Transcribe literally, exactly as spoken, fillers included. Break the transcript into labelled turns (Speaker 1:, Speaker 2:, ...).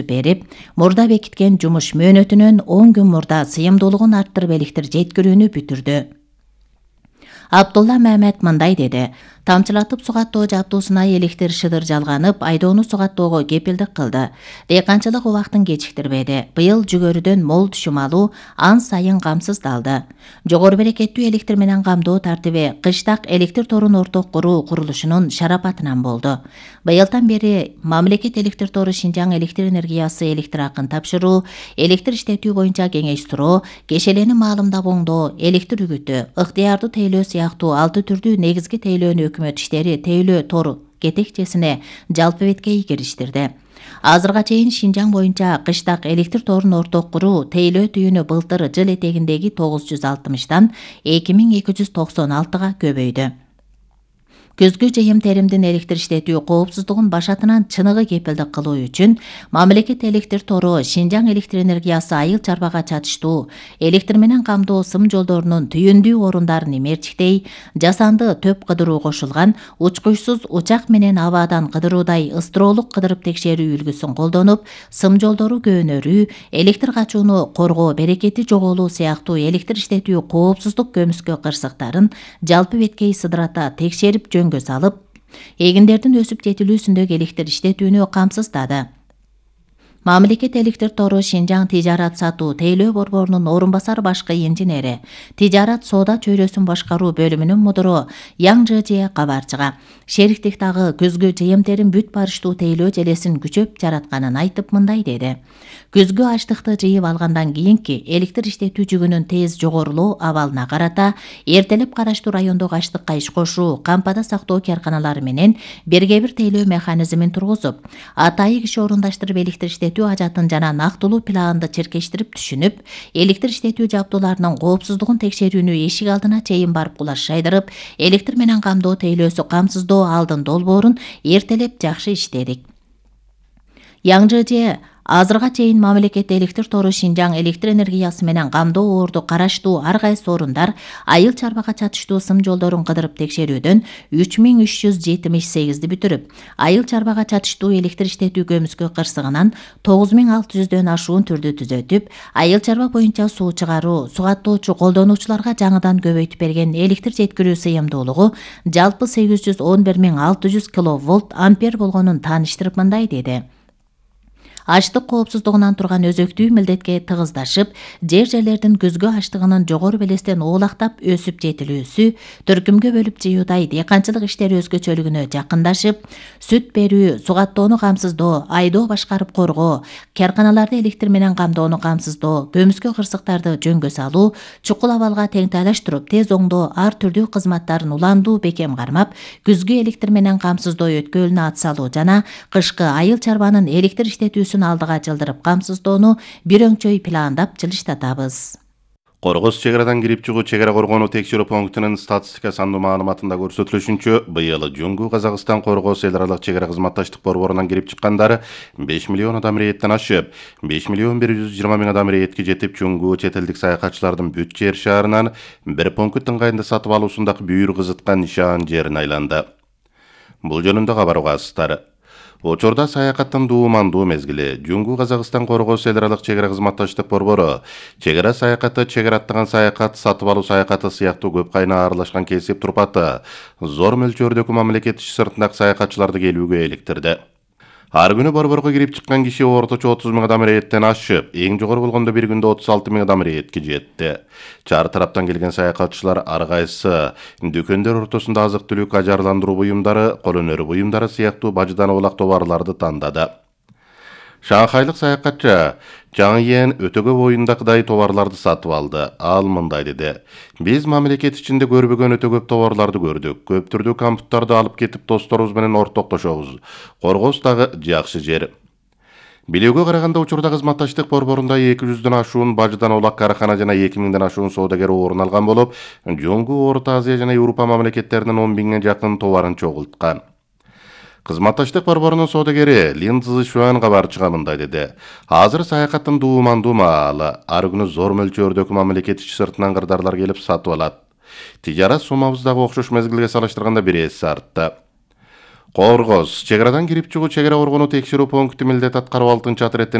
Speaker 1: берип, мурда бекиткен жумуш мөөнөтүнөн он күн мурда сыйымдуулугун арттырып электр жеткирүүнү бүтүрдү. Абдулла Мамед мындай деди: тамчылатып сугаттоо жабдуусуна электр шыдыр жалганып, айдоону сугаттоого кепилдик кылды. Дыйканчылык убактын кечиктирбеди. Быйыл жүгөрүдөн мол түшүм алуу ан сайын камсыздалды. Жогору берекеттүү электр менен камдоо тартиби кыштак электр торун орток куруу курулушунун шарапатынан болду. Быйылдан бери мамлекет электр тору Шинжаң электр энергиясы электр акын тапшыруу, электр иштетүү боюнча кеңеш суроо, кешелени маалымдап оңдоо, электр үгүтү, ыктыярды тейлөө сыяктуу алты түрдүү негизги тейлөөнү өкмөт иштери тейлөө тору кетекчесине жалпы беткей кириштирди. Азырга чейин Шинжаң боюнча кыштак электр торун орток куруу тейлөө түйүнү былтыр жыл этегиндеги тогуз жүз алтымыштан эки миң эки жүз токсон алтыга көбөйдү. Көзгү жыйым теримдин электр иштетүү коопсуздугун башатынан чыныгы кепилдик кылуу үчүн мамлекет электр тору Шинжаң электр энергиясы айыл чарбага чатыштуу электр менен камдоо сым жолдорунун түйүндүү орундарын имерчиктей, жасанды төп кыдыруу кошулган учкучсуз учак менен абадан кыдыруудай ыстыроолук кыдырып текшерүү үлгүсүн колдонуп, сым жолдору көөнөрүү, электр качууну коргоо, берекети жоголуу сыяктуу электр иштетүү коопсуздук көмүскө кырсыктарын жалпы беткей сыдырата текшерип жөн салып, эгиндердин өсүп жетилүүсүндөгү электр иштетүүнү камсыздады. Мамлекет электр тору Шинжаң тижарат сатуу тейлөө борборунун орун басар башкы инженери, тижарат соода чөйрөсүн башкаруу бөлүмүнүн мудуру Яң Жыжые кабарчыга шериктиктагы көзгү жыйым терим бүт барыштуу тейлөө желесин күчөп жаратканын айтып мындай деди: Көзгү ачтыкты жыйып алгандан кийинки электр иштетүү жүгүнүн тез жогорулоо абалына карата эртелеп караштуу райондогу ачтыкка иш кошуу, кампада сактоо карканалары менен бирге бир тейлөө механизмин тургузуп, атайы киши орундаштырып электр иштетүү ажатын жана нактылуу планды черкештирип түшүнүп, электр иштетүү жабдууларынын коопсуздугун текшерүүнү эшик алдына чейин барып кулаш жайдырып, электр менен камдоо тейлөөсү камсыздоо алдын долбоорун эртелеп жакшы иштедик. Яң Жыжые азырга чейин мамлекет электр тору Шинжаң электр энергиясы менен камдоо орду караштуу ар кайсы орундар айыл чарбага чатыштуу сым жолдорун кыдырып текшерүүдөн үч миң үч жүз жетимиш сегизди бүтүрүп, айыл чарбага чатыштуу электр иштетүү көмүскө кырсыгынан тогуз миң алты жүздөн ашуун түрдү түзөтүп, айыл чарба боюнча суу чыгаруу, сугаттоочу колдонуучуларга жаңыдан көбөйтүп берген электр жеткирүү сыйымдуулугу жалпы сегиз жүз он бир миң алты жүз киловольт ампер болгонун тааныштырып мындай деди: Ачтык коопсуздугунан турган өзөктүү милдетке тыгыздашып, жер жерлердин көзгү ачтыгынын жогору белестен оолактап өсүп жетилүүсү, төркүмгө бөлүп жыюудай дыйканчылык иштери өзгөчөлүгүнө жакындашып, сүт берүү, сугаттоону камсыздоо, айдоо башкарып коргоо, карканаларды электр менен камдоону камсыздоо, көмүскө кырсыктарды жөнгө салуу, чукул абалга теңтайлаштырып, тез оңдоо ар түрдүү кызматтарын уландуу бекем кармап, күзгү электр менен камсыздоо өткөлүнө ат салуу жана кышкы айыл чарбанын электр иштетүүсүн алдыга жылдырып камсыздоону бир өңчөй пландап жылыштатабыз.
Speaker 2: Коргоз чегарадан кирип чыгуу чегара коргонуу текшерүү пунктунун статистика сандуу маалыматында көрсөтүлүшүнчө, быйыл Жуңгу Казакстан Коргоз эл аралык чегара кызматташтык борборунан кирип чыккандар беш миллион адам ирээттен ашып, беш миллион бир жүз жыйырма миң адам ирээтке жетип, Жуңгу чет элдик саякатчылардын бүт жер шаарынан бир пункт ыңгайында сатып алуусундагы бүйүр кызыткан нишан жерине айланды. Бул жөнүндө кабар угасыздар. Учурда саякаттын дуумандуу мезгили. Жуңгу Казакстан Коргоз эл аралык чегара кызматташтык борбору чегара саякаты, чегара аттаган саякат, сатып алуу саякаты сыяктуу көп кайна аралашкан кесип турпаты зор мөлчөрдөгү мамлекет иш сыртындагы саякатчыларды келүүгө иликтирди. Ар күнү борборго кирип чыккан киши орточо отуз миң адам ирэеттен ашып, эң жогору болгондо бир күндө отуз алты миң адам ирээтке жетти. Чар тараптан келген саякатчылар ар кайсы дүкөндөр ортосунда азык-түлүк, ажарландыруу буюмдары, кол өнөрү буюмдары сыяктуу бажыдан оолак товарларды тандады. Шанхайлык саякатчы Жаңы Йен өтөгө боюндагыдай товарларды сатып алды. Ал мындай деди: Биз мамлекет ичинде көрбөгөн өтө көп товарларды көрдүк. Көп түрдүү кампуттарды алып кетип досторубуз менен ортоктошобуз. Коргоз дагы жакшы жер. Билүүгө караганда учурда кызматташтык борборунда эки жүздөн ашуун бажыдан оолак карахана жана эки миңден ашуун соодагер орун алган болуп, Жуңгу Орто Азия жана Европа мамлекеттеринин он миңге жакын товарын чогулткан. Кызматташтык борборунун соодагери Лин Цзишуан кабарчыга мындай деди: Азыр саякаттын дуумандуу маалы, ар күнү зор мөлчөрдөгү мамлекет ич сыртынан кырдаарлар келип сатып алат. Тижарат суммабыз дагы окшош мезгилге салыштырганда бир эсе артты. Коргоз чек арадан кирип чыгуу чек ара коргонуу текшерүү пункту милдет аткарып алтынчы атыреттен